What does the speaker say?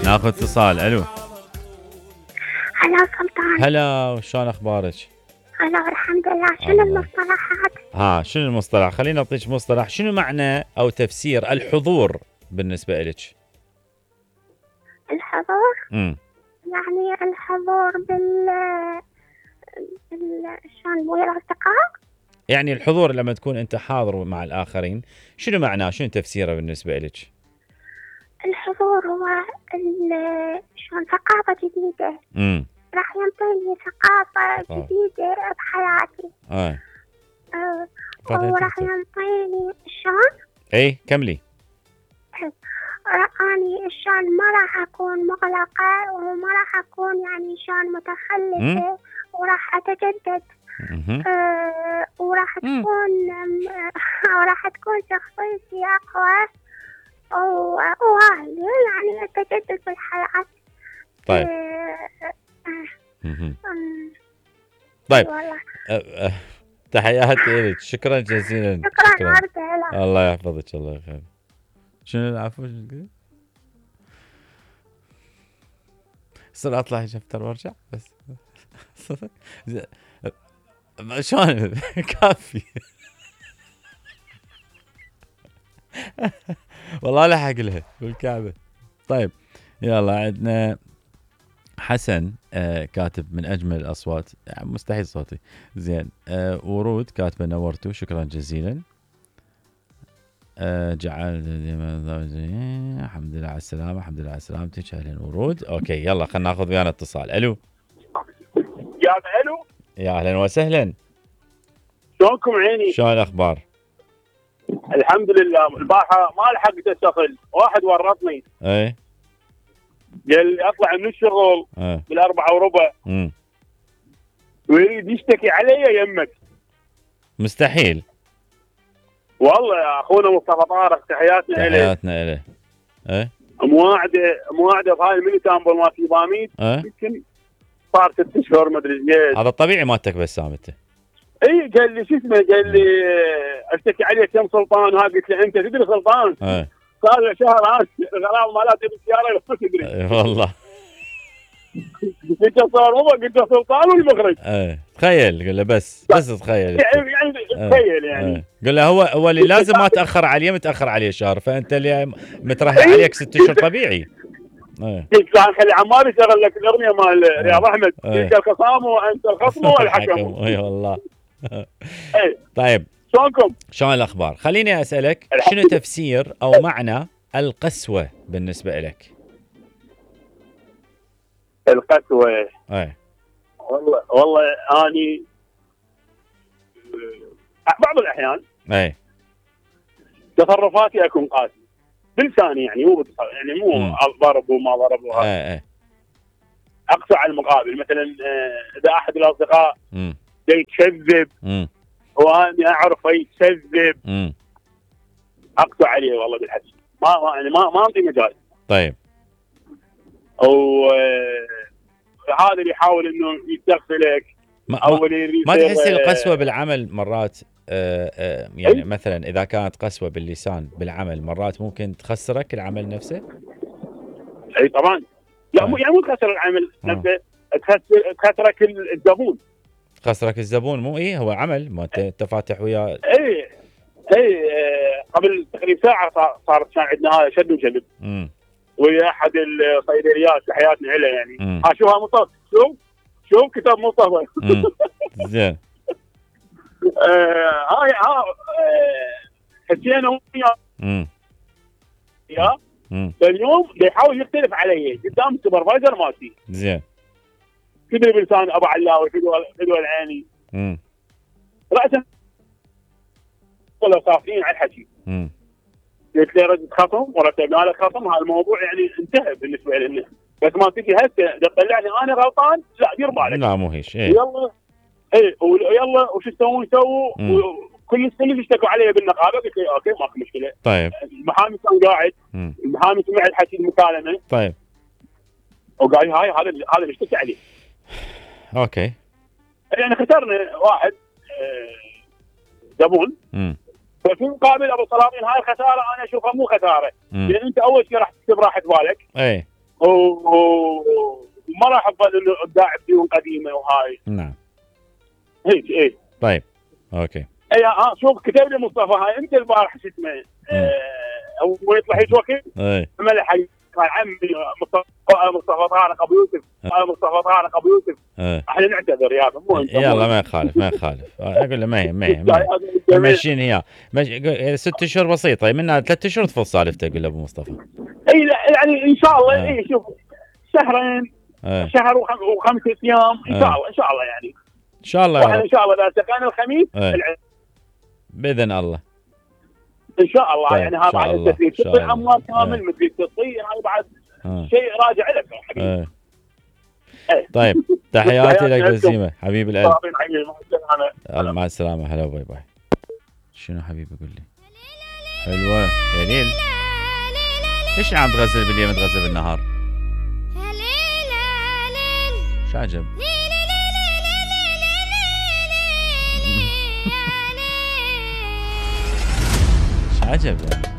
ناخذ اتصال. الو. هلا سلطان. هلا، شلون اخبارك؟ هلا الحمد لله. شنو المصطلحات؟ شنو المصطلح؟ خليني اعطيك مصطلح. شنو معنى او تفسير الحضور بالنسبه لك؟ الحضور؟ يعني الحضور شلون ويا الاصدقاء؟ يعني الحضور لما تكون انت حاضر مع الاخرين، شنو معناه؟ شنو تفسيره بالنسبه لك؟ الحضور هو شلون ثقافه جديده. راح ينطيني ثقافه جديده بحياتي. وراح ينطيني شلون؟ اي كملي. اني شلون ما راح اكون مغلقه وما راح اكون يعني شلون متخلفه، وراح اتجدد. وراح تكون شخصيتي اقوى وهاي يعني التجدد في الحياه. طيب. طيب. تحياتي لك، شكرا جزيلا. شكرا. الله يحفظك. الله يخليك. شنو العفو؟ صر اطلع افتر وارجع بس. شلون كافي. والله لا حق لها بالكعبه. طيب يلا، عندنا حسن كاتب من اجمل الاصوات، يعني مستحيل صوتي زين. ورود كاتبه نورتوا، شكرا جزيلا. جعل الحمد لله على السلامه. الحمد لله على سلامتك. اهلا ورود. اوكي يلا خلينا ناخذ ويانا اتصال. الو. الو. يا اهلا وسهلا. شلونكم عيني؟ شلون الاخبار؟ الحمد لله. البارحه ما لحقت استقل، واحد ورطني. اي قال لي اطلع من الشغل ب4:15 ويريد يشتكي علي يمك. مستحيل والله يا اخونا مصطفى طارق، تحياتنا له. تحياتنا له. ايه مواعده بهاي المينيتامبل مال تيباميد. يمكن صار 6 اشهر ما ادري ايش. هذا الطبيعي مالتك بسام انت. اي قال لي شو اسمه، قال لي اشتكي عليك يم سلطان. وهذا قلت له انت تدري سلطان؟ صار له شهر الغرام مالاتي بالسياره ما تدري. والله قلت له صار قلت له سلطان والمخرج. تخيل، قل له بس تخيل يعني تخيل يعني. قل له هو اللي لازم ما تاخر عليه، متاخر عليه شهر، فانت اللي مترهي عليك 6 اشهر طبيعي. قلت له خلي عمار يشغل لك الاغنيه مال رياض احمد، تلك الخصام وانت الخصم والحكم. اي والله. طيب شلونكم؟ شلون الاخبار؟ خليني اسالك، شنو تفسير او معنى القسوه بالنسبه لك؟ القسوه والله اني بعض الاحيان تصرفاتي اكون قاسي بلساني، يعني مو يعني مو ضرب وما ضرب وهذا. اقسى على المقابل. مثلا اذا احد الاصدقاء يكذب واني اعرف يكذب، اقسى عليه والله بالحديث. ما انطي مجال. طيب. او هذا اللي يحاول انه يستغفلك او ما تحس القسوه بالعمل مرات يعني مثلا اذا كانت قسوه باللسان بالعمل مرات ممكن تخسرك العمل نفسه؟ اي طبعا. لا يعني مو تخسر العمل نفسه، تخسرك الزبون. تخسرك الزبون مو هو عمل ما انت فاتح وياه. اي قبل تقريبا ساعه صارت كان عندنا هذا شد وجذب ويا احد الصيدليات، تحياتنا له يعني. شوفها مصطفى، شوف كتاب مصطفى. زين. هاي حسينا وياه يا اليوم يحاول يختلف علي قدام السوبرفايزر مالتي. زين. كذا بلسان ابو علاوي فدوى العيني. راسا ولا صافين على الحكي. قلت له ردت خصم ورتبنا له خصم. هذا الموضوع يعني انتهى بالنسبه لنا. بس ما تجي هسه تطلعني انا غلطان، لا دير بالك. لا مو هيش. يلا يلا وش تسوون سووا. كل يشتكوا علي بالنقابه. قلت له اوكي ماكو مشكله. طيب. المحامي كان قاعد. المحامي سمع الحكي المكالمه. طيب. وقال هاي هذا اللي اشتكي عليه. اوكي. يعني خسرنا واحد زبون. ففي مقابل ابو سلاطين هاي الخساره انا اشوفها مو خساره، لان انت اول شيء راح تكسب راحه بالك. وما راح افضل انه ابداع بديون قديمه وهاي. نعم. هيك ايه. طيب اوكي. اي شوف كتب لي مصطفى هاي انت البارح شو اسمه هو يطلع هيك وقت ملح قال عمي مصطفى طارق ابو يوسف مصطفى طارق ابو يوسف احنا نعتذر يا مو انت يلا ما يخالف اقول له ما هي ماشيين هي 6 اشهر بسيطه منها 3 اشهر تفض سالفته اقول له ابو مصطفى. اي يعني ان شاء الله اي شوف شهرين شهر و5 ايام ان شاء الله يعني ان شاء الله ان شاء الله اذا التقينا الخميس باذن الله ان شاء الله. طيب يعني هذا بعد التسليم تطي اموال كامل مثل تطي هذا بعد شيء راجع لك حبيبي. طيب تحياتي لك بسيمه حبيب القلب. مع السلامه. هلا باي باي. شنو حبيبي قول لي؟ حلوه يا ليل. ليش عم تغزل بالليل ما تغزل بالنهار؟ شو عجب؟ شو عجب يعني؟